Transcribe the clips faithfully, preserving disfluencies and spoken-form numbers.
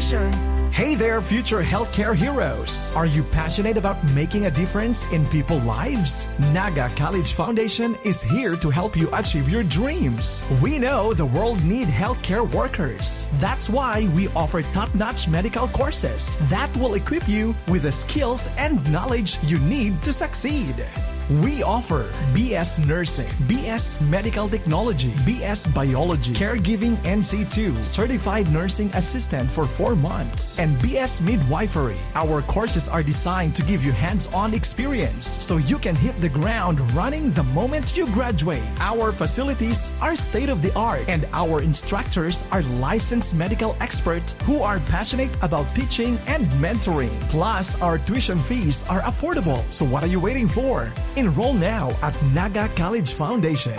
Hey there, future healthcare heroes! Are you passionate about making a difference in people's lives? Naga College Foundation is here to help you achieve your dreams. We know the world need healthcare workers. That's why we offer top-notch medical courses that will equip you with the skills and knowledge you need to succeed. We offer B S Nursing, B S Medical Technology, B S Biology, Caregiving N C two, Certified Nursing Assistant for four months, and B S Midwifery. Our courses are designed to give you hands-on experience so you can hit the ground running the moment you graduate. Our facilities are state-of-the-art, and our instructors are licensed medical experts who are passionate about teaching and mentoring. Plus, our tuition fees are affordable. So what are you waiting for? Enroll now at Naga College Foundation.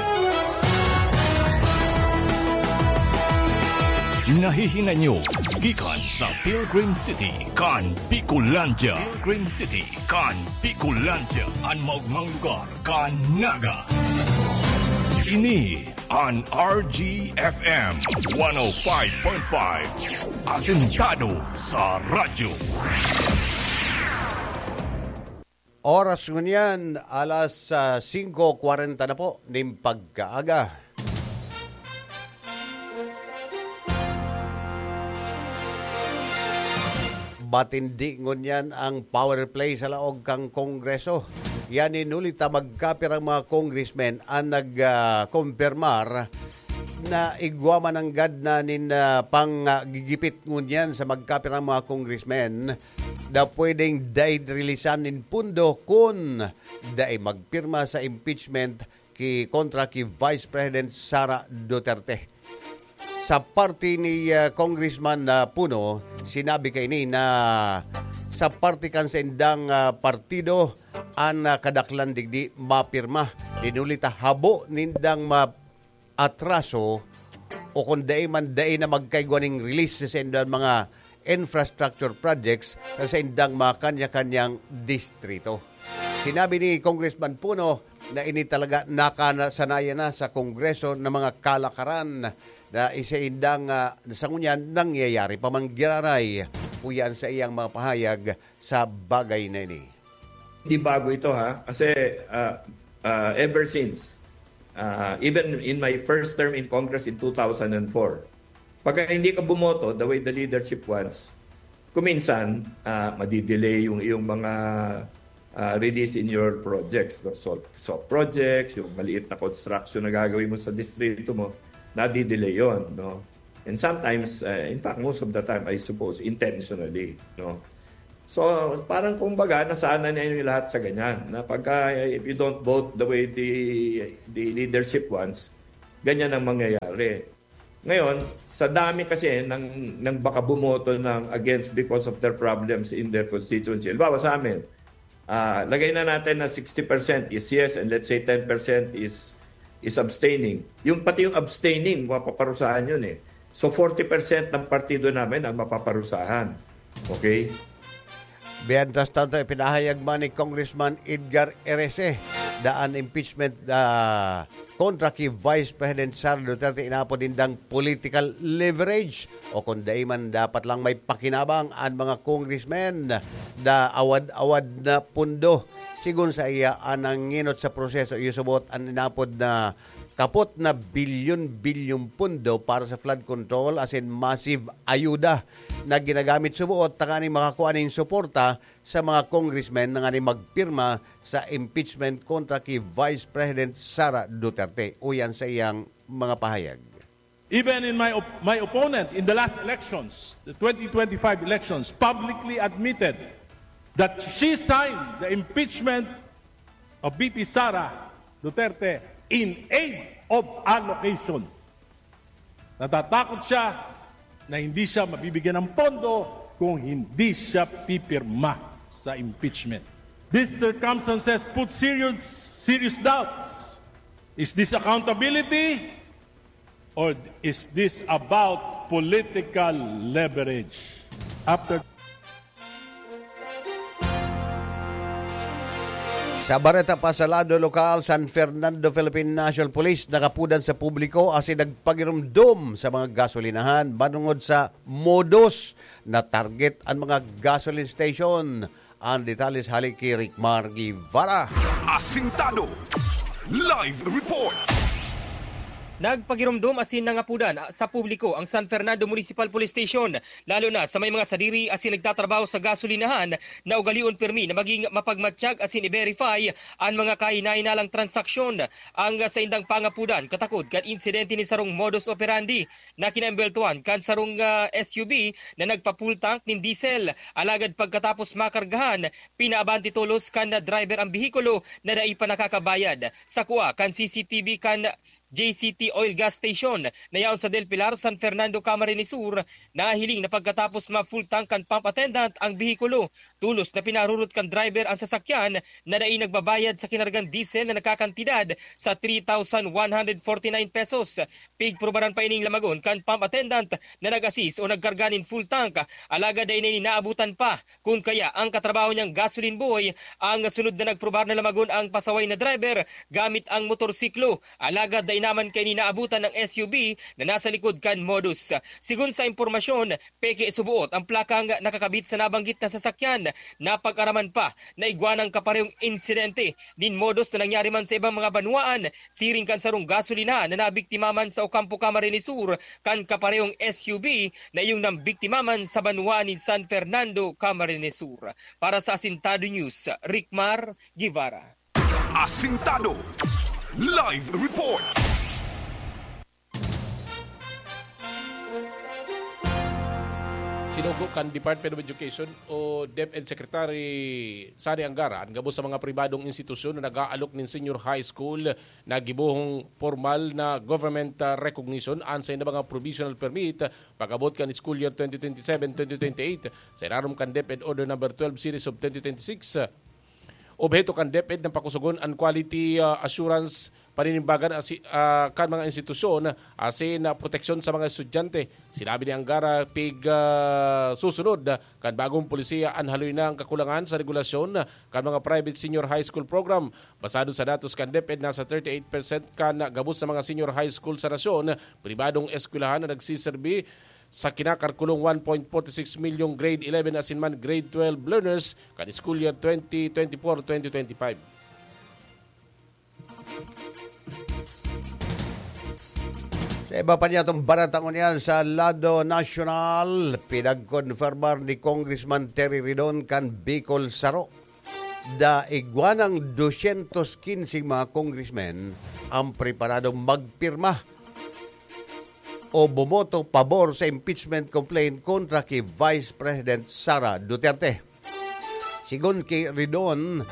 Nahihinay nyo gikan sa Pilgrim City kan Bicolandia. Pilgrim City kan Bicolandia, an maogmang lugar kan Naga. Ini an R G F M one oh five point five. Asentado sa radyo. Oras ngunyan, alas, ah, singko kwarenta na po nin pagkaaga. Matindi ngunyan ang power play sa laog kan Kongreso. Yan, hinuli ta magkapirang mga congressmen ang nag, ah, kumpirmar na igwa man nanggad na nin, ah, panggigipit ngunyan sa magkapirang mga congressmen na pwedeng dai rilisan nin pundo kun dai magpirma sa impeachment ki, kontra ki Vice President Sara Duterte. Sa parte ni, ah, Congressman, ah, Puno, sinabi kaini na sa parte kan saindang, ah, partido, an, ah, kadaklan digdi mapirma. Hinuli ta habo nindang ma-, atraso o kung dai man, dai na magkaigwa nin release sa saindang mga infrastructure projects sa saindang mga kanya-kanyang distrito. Sinabi ni Congressman Puno na ini talaga nakasanayan na sa Kongreso na mga kalakaran na saindang, ah, sa ngunyan nangyayari pa man giraray. Uyan sa iyang mga pahayag sa bagay na ini. Di bago ito, ha? Kasi, ah, ah, ever since, ah, even in my first term in Congress in two thousand and four, pagka hindi ka bumoto the way the leadership wants, kuminsan, ah, madidelay yung iyong mga, ah, release in your projects, no? So, so projects, yung maliit na construction na gagawin mo sa distrito mo, nadidelay yon, no? And sometimes, ah, in fact, most of the time, I suppose, intentionally, no? So, parang kumbaga, nasanay na yung lahat sa ganyan, na pagka, if you don't vote the way the, the leadership wants, ganyan ang mangyayari. Ngayon, sa dami kasi ng, ng baka bumoto ng against because of their problems in their constituency. Halimbawa sa amin, ah, lagay na natin na sixty percent is yes and let's say ten percent is, is abstaining. Yung pati yung abstaining, mapaparusahan yun eh. So forty percent ng partido namin ang mapaparusahan. Okay? Mientras tanto, ipinahayag man ni Congressman Edgar Erese, daan impeachment, ah, kontra ki Vice President Sara Duterte, inapod nindang political leverage o kung dai man dapat lang may pakinabang an mga congressmen na awad-awad na pundo. Sigon sa iya, an nanginot sa proseso, iyo subot an inapod na kapot na bilyon-bilyon pundo para sa flood control asin massive ayuda na ginagamit suboot tanganing makakua nin suporta sa mga congressmen na nganing magpirma sa impeachment kontra ki Vice President Sara Duterte. Uyan sa iyang mga pahayag. Even in my op-, my opponent in the last elections, the twenty twenty-five elections, publicly admitted that she signed the impeachment of V P Sara Duterte in aid of allocation. Natatakot siya na hindi siya mabibigyan ng pondo kung hindi siya pipirma sa impeachment. These circumstances put serious, serious doubts. Is this accountability or is this about political leverage? After Sa bareta pa sa lado lokal, San Fernando Philippine National Police nakapudan sa publiko asin nagpagirumdom sa mga gasolinahan manungod sa modus na target an mga gasoline station. Ang detalye sa hali ki Rickmar Guevara. Asintado. Live report. Nagpagiromdom asin nangapudan sa publiko ang San Fernando Municipal Police Station, lalo na sa may mga sadiri asin nagtatrabaho sa gasolinahan na ugalion pirmi na maging mapagmatyag asin i-verify an mga kahinainalang transaksyon. Ang saindang pangapudan katakod kan insidente ni sarong modus operandi na kinaembweltuhan kan sarong, ah, S U V na nagpa-full tank nin diesel. Alagad pagkatapos makargahan, pinaabante tolos kan driver ang behikulo na dai pa nakakabayad. Sa kua kan C C T V kan J C T Oil Gas Station na yaon sa Del Pilar, San Fernando, Camarines Sur, nahiling na pagkatapos ma-full tank kan pump attendant ang behikulo, tolos na pinarurot kan driver ang sasakyan na dai nagbabayad sa kinargang diesel na nagkakantidad sa three thousand one hundred forty-nine pesos. Pigprubaran pa ining lamagon kan pump attendant na nag-assist o nagkarga nin full tank, alagad dai na ini naabutan pa. Kun kaya, ang katrabaho niyang gasoline boy ang sunod na nagprubar na lamagon ang pasaway na driver gamit ang motorsiklo, alagad dai naman kaini naabutan ng S U V na nasa likod kan modus. Sigon sa impormasyon, peke subuot ang plakang nakakabit sa nabanggit na sasakyan. Napag-araman pa na igwa ng kaparehong insidente nin modus na nangyari man sa ibang mga banwaan, siring kan sarong gasolina na nabiktima man sa Ocampo, Camarines Sur, kan kaparehong S U V na iyong nambiktima man sa banwaan nin San Fernando, Camarines Sur. Para sa Asintado News, Rickmar Guevara. Asintado. Live report. Sinugo kan Department of Education o DepEd Secretary Sonny Angara an gabos sa mga pribadong institusyon na nag-aalok nin senior high school na gibohong pormal na government, ah, recognition an saindang mga provisional permit pag-abot kan school year twenty twenty-seven, twenty twenty-eight sa irarom kan DepEd Order Number twelve Series of twenty twenty-six. Obheto kan DepEd na pakusogon an quality, ah, assurance paninimbagan asi-, ah, kan mga institusyon asin, ah, proteksyon sa mga estudyante. Sinabi ni Angara, pig, ah, susunod, ah, kan bagong polisiya an haloy na ang kakulangan sa regulasyon kan mga private senior high school program. Basado sa datos kan DepEd, nasa thirty-eight percent kan gabos sa mga senior high school sa nasyon, pribadong eskwelahan na nagsiserbi sa kinakalkulong one point forty six million grade eleven asin man grade twelve learners kan school year twenty twenty-four, twenty twenty-five. Sa iba pa niyatong balita ngunyan sa lado nasyonal, pinagkonfirmar ni Congressman Terry Ridon kan Bicol Saro na igwa ng dosyentos quince mga congressmen ang preparadong magpirma o bumoto pabor sa impeachment complaint kontra ki Vice President Sara Duterte. Sigon ki Ridon,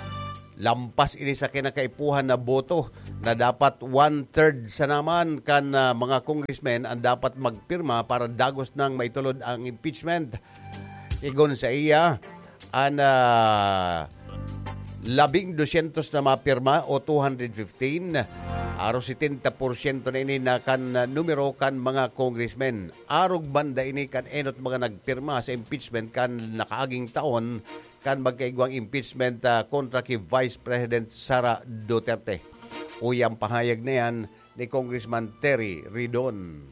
lampas ini sa kinakaipuhan na boto na dapat one-third sana man kan, ah, mga congressmen ang dapat magpirma para dagos nang maitulod ang impeachment. Sigon sa iya, an, ah, labing dosyentos na mapirma o two hundred fifteen, aro setenta porsyento na ini na kan, ah, numero kan mga congressmen. Arog banda ini kan enot mga nagpirma sa impeachment kan nakaaging taon kan magkaigwang impeachment, ah, kontra ki Vice President Sara Duterte. Uya ang pahayag na yan ni Congressman Terry Ridon.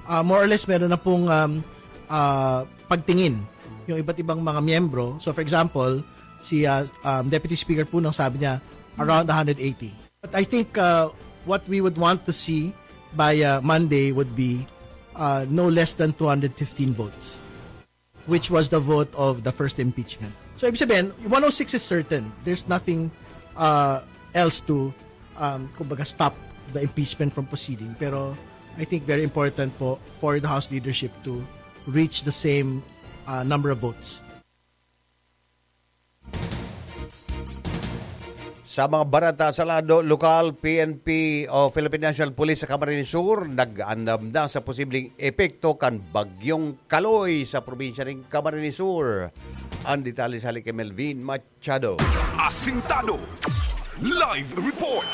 Ah, more or less, meron na pong, um, ah, pagtingin yung iba't ibang mga miyembro. So, for example, si, ah, um, Deputy Speaker po nang sabi niya, around one hundred eighty. But I think, uh, what we would want to see by, uh, Monday would be, uh, no less than two hundred fifteen votes, which was the vote of the first impeachment. So, ibig sabihin, one oh six is certain. There's nothing, uh, else to, um, kumbaga, stop the impeachment from proceeding. Pero I think very important po for the House leadership to reach the same, uh, number of votes. Sa mga balita sa lado lokal, P N P o Philippine National Police sa Camarines Sur nag-aandam na sa posibleng epekto kan Bagyong Kaloy sa probinsya nin Camarines Sur. Ang detalye sa hali ki Melvin Machado. Asintado. Live report.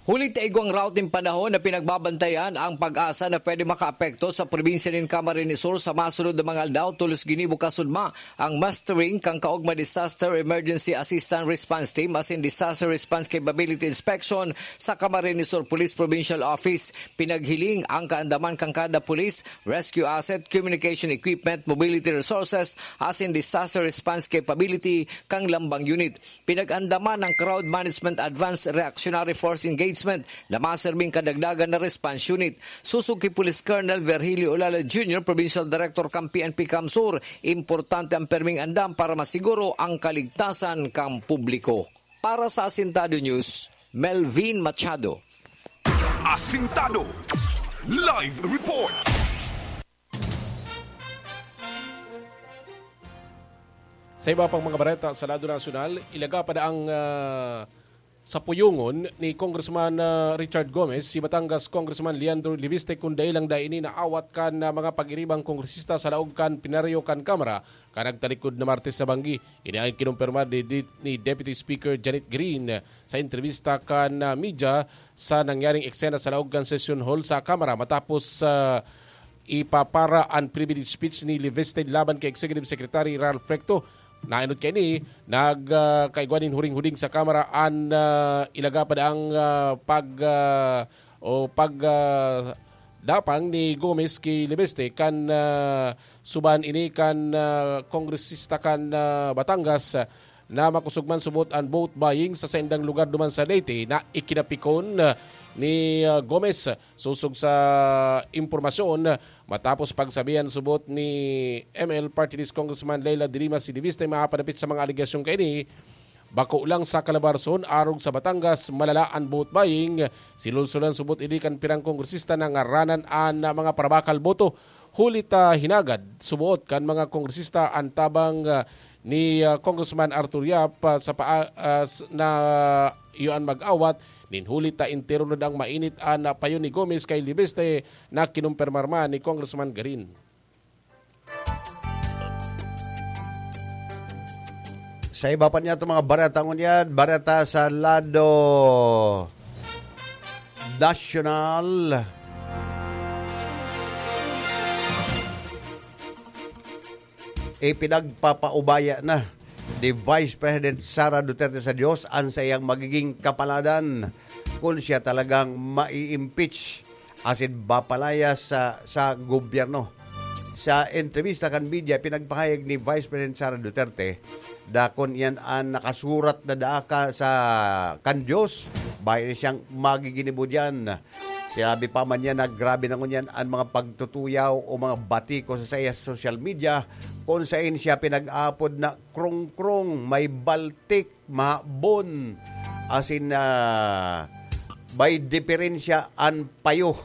Huli ta igwang route nin panahon na pinagbabantayan ang pag-asa na pwede makaapekto sa probinsya nin Camarines Sur sa masunod na mga aldaw, tolos ginibo kasudma ang mustering kan kaogma Disaster Emergency Assistance Response Team asin Disaster Response Capability Inspection sa Camarines Sur Police Provincial Office. Pinaghiling ang kaandaman kan kada pulis, rescue asset, communication equipment, mobility resources, asin disaster response capability kan lambang unit. Pinag-andaman ang Crowd Management Advanced Reactionary Force Engagement na maserbing kadagdagan na response unit. Sosog ki Police Colonel Virgilio Olala Junior, Provincial Director kan P N P CamSur, importante ang perming andam para masiguro ang kaligtasan kan publiko. Para sa Asintado News, Melvin Machado. Asintado Live Report. Sa iba pang mga bareta sa lado nasyonal, ilaga pa daang, ah, sa puyungon ni Congressman, ah, Richard Gomez si Batangas Congressman Leandro Leviste kun dai lang dai ini naawat kan, ah, mga pag-iribang kongresista sa laog kan plenaryo kan Kamara kan nagtalikod na Martes sa banggi. Ini ang kinumpirma ni, ni Deputy Speaker Janet Green sa entrebista kan, ah, media sa nangyaring eksena sa laog kan session hall sa Kamara matapos, ah, ipapara an privilege speech ni Leviste laban kay Executive Secretary Ralph Recto. Nainot kaini, nag, ah, kaigwa nin huring-huding sa Kamara an, ah, ilaga pa daang, ah, pag, ah, o pag, ah, dapang ni Gomez ki Leviste kan, ah, suban ini kan, ah, kongresista kan, ah, Batangas, ah, na makosog man subot an vote buying sa saindang lugar duman sa Leyte na ikinapikon, ah, ni, ah, Gomez. Sosog sa impormasyon, matapos pagsabihan subot ni M L Party List Congressman Leila de Lima si Leviste mapapanapit sa mga alegasyong kaini, bako lang sa Calabarzon, arog sa Batangas, malala an vote buying. Sinulsulan subot ini kan pirang kongresista na ngaranan an mga parabakal boto. Huli ta hinagad, suboot kan mga kongresista an tabang, ah, ni, ah, Congressman Arthur Yap, ah, sa paa-, ah, s-, na iyo an mag-awat, nin huli ta entero na daang mainit an, ah, payo ni Gomez kay Leviste na kinumpirmar man ni Congressman Garin. Sa iba pa niya itong mga bareta ngunyan, bareta sa lado nasyonal. Ipinagpapaubaya na ni Vice President Sara Duterte sa Diyos an saiyang magiging kapaladan kun siya talagang mai-impeach asin mapalayas sa, sa gobyerno. Sa entrebista kan media, pinagpahayag ni Vice President Sara Duterte, dakon iyan an nakasurat na daka sa kan Diyos, bayo na siyang magiginibo diyan. Sinabi pa man niya na grabe na ngunyan an mga pagtutuyaw o mga batiko sa saya sa social media, kung sain siya pinag-aapod na krongkrong, may baltik, mahabon, asin, ah, may diferensya an payo.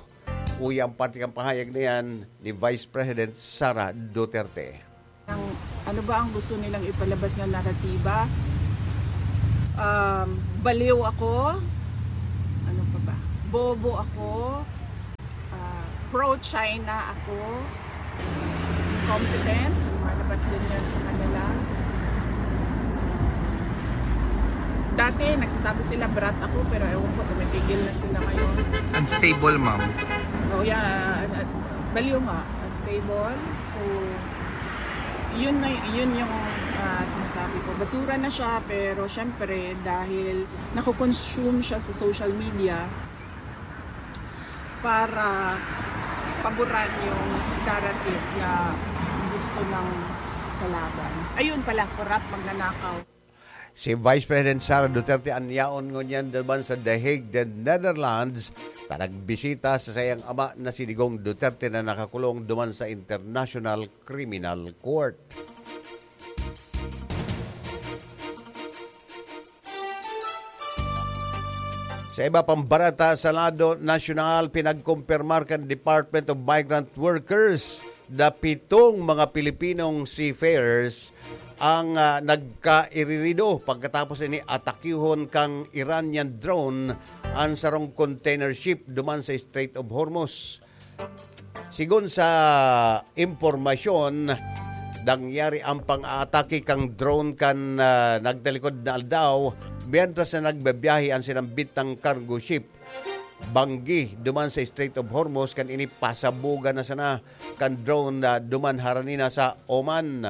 Uya ang parte kan pahayag na yan ni Vice President Sara Duterte. Ang, ano ba ang gusto nilang ipalabas na naratiba? Um, baliw ako? Ano pa ba? Bobo ako? Ah, pro-China ako? Incompetent? Lumalabas din yan sa kanila. Dati, nagsasabi sila brat ako, pero ewan ko, tumigil na sila ngayon. Unstable, ma'am. Oh, yeah. Baliw nga. Unstable. So, yun na, yun yung, ah, sinasabi ko. Basura na siya, pero syempre, dahil nako-consume siya sa social media, para paboran yung narrative na gusto ng kalaban. Ayun pala, corrupt, magnanakaw. Si Vice President Sara Duterte an yaon ngunyan duman sa The Hague, The Netherlands, ta nagbisita sa sayang ama na si Digong Duterte na nakakulong duman sa International Criminal Court. Sa iba pang bareta sa lado nasyonal, pinagkumpirmar kan Department of Migrant Workers na pitong mga Pilipinong seafarers ang, ah, nagkairirido pagkatapos ini atakihon kan Iranian drone an sarong container ship duman sa Strait of Hormuz. Sigon sa impormasyon, nangyari ang pang-aatake kan drone kan, ah, nagtalikod na aldaw, mientras na nagbibiyahe an sinambit na cargo ship banggi duman sa Strait of Hormuz, kan ini pasabogan na sana kan drone na duman harani na sa Oman.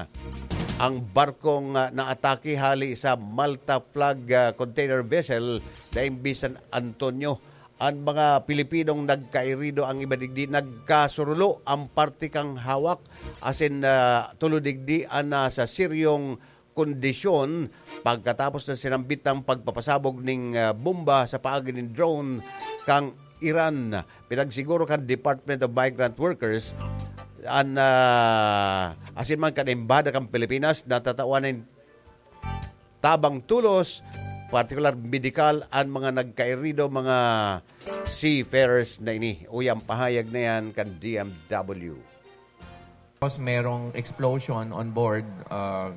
Ang barkong, ah, naatake hali sa Malta flag, ah, container vessel daing bi San Antonio. An mga Pilipinong nagkairido, ang iba digdi nagkasurulo, ang parte kan hawak asin, ah, tulo digdi an nasa seryong kondisyon pagkatapos na sinambit ang pagpapasabog ning, ah, bomba sa paagi nin drone kan Iran. Pinagsiguro kan Department of Migrant Workers an, ah, asin man kan Embahada kan Pilipinas na tatawan nin tabang tulos, partikular medikal, an mga nagkairido, mga seafarers na ini. Uya ang pahayag na yan kan D M W. Tapos merong explosion on board, uh,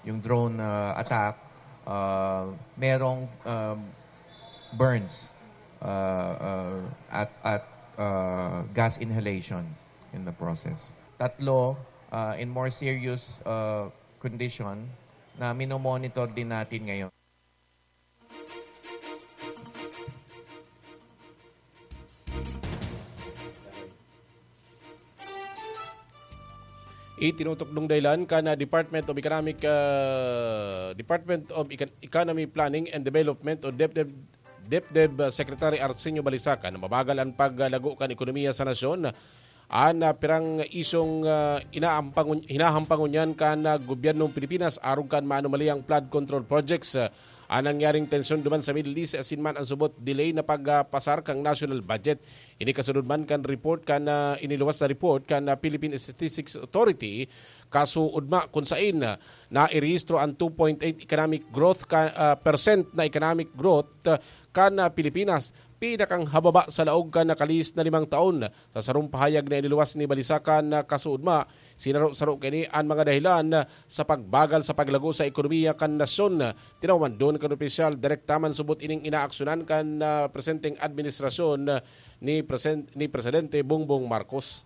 yung drone, uh, attack, uh, merong, um, burns, uh, uh, at, at, uh, gas inhalation in the process. Tatlo, uh, in more serious, uh, condition na minomonitor din natin ngayon. Itinutukdong dahilan kan, ah, Department of Economic, ah, Department of Econ- Economy Planning and Development o DepDev, DepDev, ah, Secretary Arsenio Balisacan na mabagal an paglago kan ekonomiya sa nasyon. An, ah, pirang isyung, ah, inaampangon- hinahampangon niyan kan, ah, gobyernong Pilipinas arog kan maanomaliyang flood control projects. Ah, an nangyaring tensyon duman sa Middle East asin man an subot delay na pagpasar kan national budget. Ini kasunod man kan report kan, ah, iniluwas na report kan, ah, Philippine Statistics Authority, kasuodma, kun sain, ah, nairehistro an two point eight economic growth ka, ah, percent na economic growth, ah, kan, ah, Pilipinas, pinakang hababa sa laog kan nakalihis na limang taon. Sa sarong pahayag na iniluwas ni Balisacan na kasuodma, sinaro-saro kaini an mga dahilan sa pagbagal sa paglago sa ekonomiya kan nasyon. Tinawan duon kan opisyal, direkta man subot ining inaaksyonan kan, ah, presenteng administrasyon ni Presen-, ni Presidente Bongbong Marcos.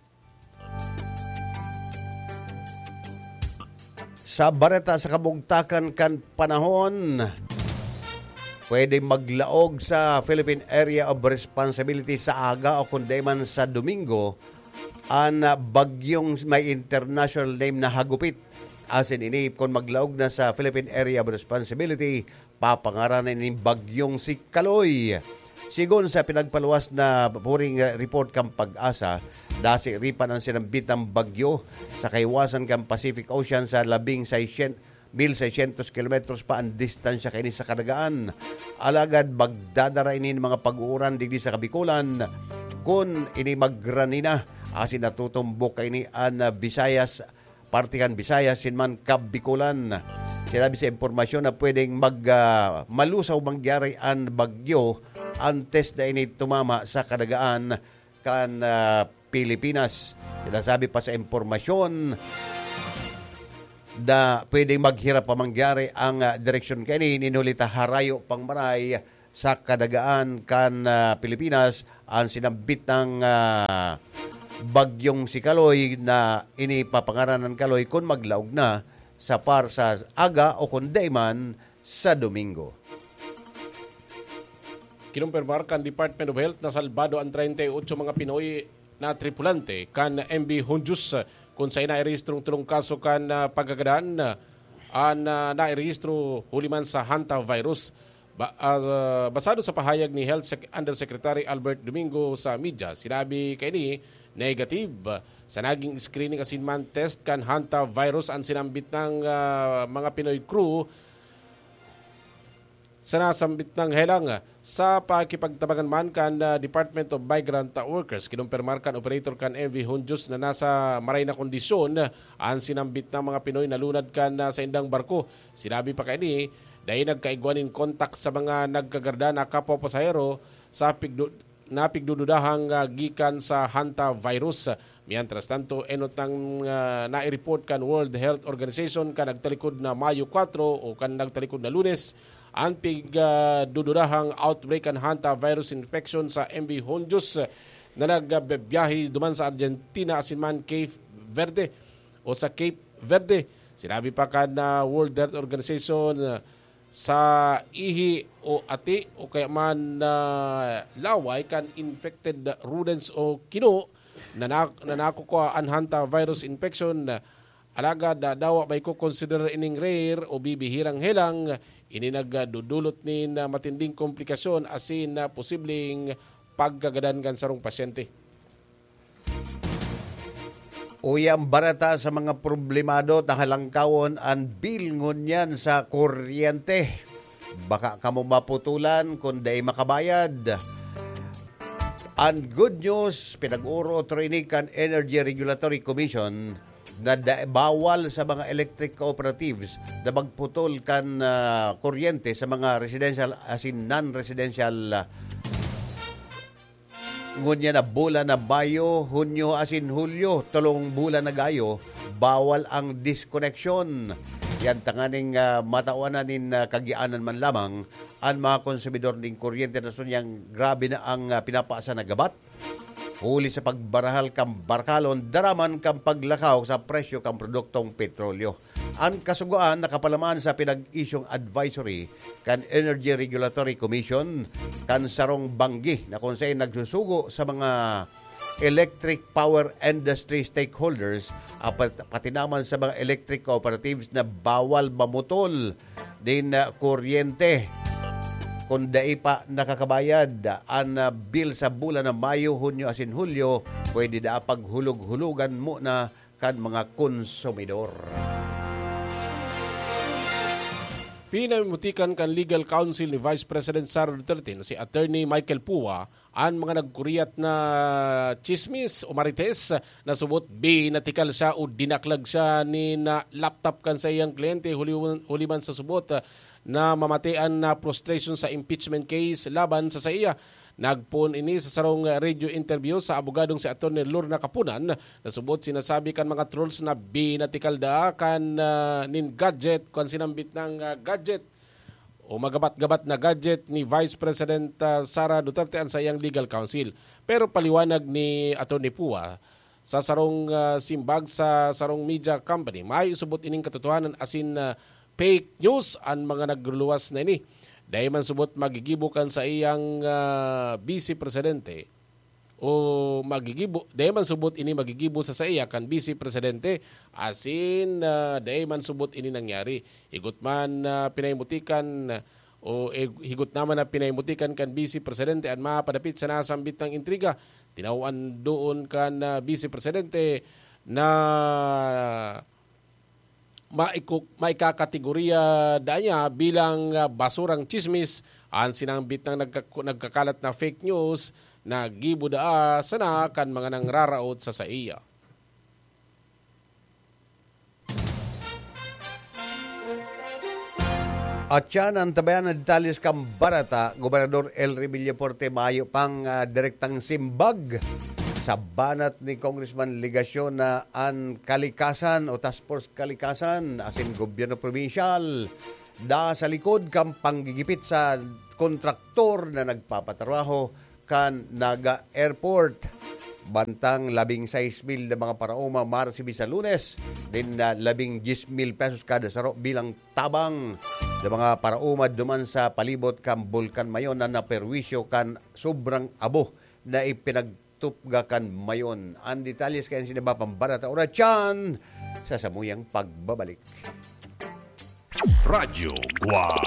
Sa bareta sa kabugtakan kan panahon, pwede maglaog sa Philippine Area of Responsibility sa aga o kun di man sa Domingo an bagyong may international name na Hagupit. Asin ini, kun maglaog na sa Philippine Area of Responsibility, papangaranan nin bagyong si Kaloy. Sigon sa pinagpaluwas na puring report kan PAGASA, dasi ripan an sinambitang bagyo sa kaiwasan kan Pacific Ocean sa labing saysyen-, mil seiscientos kilometros pa an distansya kaini sa kadagaan. Alagad magdadara ini nin mga pag-uuran digdi sa Kabikolan kun ini magrani na, asin natutumbok kaini an Visayas, parte kan Visayas, asin man Kabikolan. Sinabi sa impormasyon na pwedeng mag, ah, malusaw mangyari an bagyo antes na ini tumama sa kadagaan kan, ah, Pilipinas. Sinasabi pa sa impormasyon na pwedeng maghirap pa mangyari ang, ah, direksyon kaini, nin huli ta harayo pang maray sa kadagaan kan, ah, Pilipinas an sinambit ng, ah, bagyong si Kaloy na ini papangaranan Kaloy kun maglaog na sa par sa aga o kun di man sa Domingo. Kinumpirmar kan Department of Health na salbado an treinta y ocho mga Pinoy na tripulante kan M V Honjus, kun saen nairehistrong tolong kaso kan, ah, pagkagadan, ah, an, ah, nairehistro huli man sa hantavirus. Ba-, ah, basado sa pahayag ni Health Sec-, Undersecretary Albert Domingo sa media, sinabi kaini, negative sa naging screening asin man test kan hantavirus an sinambit ng, ah, mga Pinoy crew sa nasambit ng helang. Sa pakipagtabangan man kan, ah, Department of Migrant Workers, kinumpirmar kan operator kan M V Honjus na nasa maray na kondisyon an sinambit ng mga Pinoy na lunad kan, ah, saindang barko. Sinabi pa kaini, dai nagkaigwa nin kontak sa mga nagkagarda na kapwa pasahero sa pigdu-, napigdududahang, ah, gikan sa hantavirus. Mientras tanto, enot ang, ah, naireport kan World Health Organization kan nagtalikod na Mayo kuwatro o kan nagtalikod na Lunes, an pigdududahang outbreak kan hantavirus infection sa M V Honjus na nagbibiyahe duman sa Argentina asin man Cape Verde o sa Cape Verde. Sinabi pa kan, ah, World Health Organization, ah, sa ihi o ati o kaya man na laway kan infected rodents o kino na na- na nakukuhaan hanta virus infection. Alagad, ah, dawa may ko-consider ining rare o bibihirang helang, ini nagdudulot nin, ah, matinding komplikasyon asin, ah, posibleng pagkagadan kan sarong pasyente. Uya ang barata sa mga problemado ta halangkawon an bill ngunyan sa kuryente. Baka kamo maputulan kun dai makabayad. An good news, pinag-uurotro ini kan Energy Regulatory Commission na da- bawal sa mga electric cooperatives na magputol kan, ah, kuryente sa mga residential asin non-residential, ah, ngunyan na bulan na Mayo, Hunyo asin Hulyo, tolong bulan na gayo, bawal ang disconnection. Yan tanganing, ah, matawan na nin, ah, kagianan man lamang an mga konsumidor nin kuryente na sunyang grabe na ang, ah, pinapaasa na gabat. Huli sa pagbarahal kan barkalon, daraman kan paglakaw sa presyo kan produktong petrolyo. An kasugoan nakapalaman sa pinag-isyong advisory kan Energy Regulatory Commission kan sarong banggi na kun saen nagsusugo sa mga electric power industry stakeholders, apat, pati naman sa mga electric cooperatives na bawal mamutol din, ah, kuryente. Kung dai pa nakakabayad an, ah, bill sa bulan na Mayo, Hunyo asin Hulyo, pwede na paghulog-hulogan muna kan mga konsumidor. Pinamutikan kan legal counsel ni Vice President Sara Duterte na si Attorney Michael Pua an mga nagkuriyat na chismis o marites na subot binatikal siya o dinaklag siya nin laptop kan saiyang kliyente huli, huli man sa subot na mamati an, ah, frustration sa impeachment case laban sa saiya. Nagpoon ini sa sarong radio interview sa abogadong si Attorney Lorna Kapunan na subot sinasabi kan mga trolls na binatikal daa kan, ah, nin gadget, kan sinambit nang, ah, gadget o magabat-gabat na gadget ni Vice President, ah, Sara Duterte an saiyang legal counsel. Pero paliwanag ni Attorney Pua, sa sarong, ah, simbag sa sarong media company, may subot ining katotohanan asin, ah, fake news an mga nagluluwas na ini. Dai man subot magigibo kan saiyang, ah, vice presidente o magigibo, dai man subot ini magigibo sa saiya kan vice presidente, asin, ah, dai man subot ini nangyari. Higot man na pinaimutikan o, eh, higot naman na pinaimutikan kan vice presidente an mapadapit sa nasambit na intriga. Tinawan doon kan, ah, vice presidente na maiku-, maikakategoriya daa niya bilang, ah, basurang tsismis an sinambit na nagka-, nagkakalat na fake news na gibo daa sana kan mga nangraraot sa saiya. At yan ang tabayan na detalye sa Kambarata. Gobernador Elry Villafuerte, mayo pang, ah, direktang simbag sa banat ni Congressman Legacion na an kalikasan o Task Force Kalikasan asin gobyerno probinsyal da sa likod kan panggigipit sa kontraktor na nagpapatrabaho kan Naga Airport. Bantang labing sais mil na mga paraoma maresibi sa Lunes, din na labing dyes mil pesos kada saro bilang tabang na mga paraoma duman sa palibot kan Bulkan Mayon na naperwisyo kan sobrang abo na ipinagtupga kan Mayon. Ang detalye sa kayan sinaba pambarata oras tiyan sa samuyang pagbabalik. Radyo Guwang.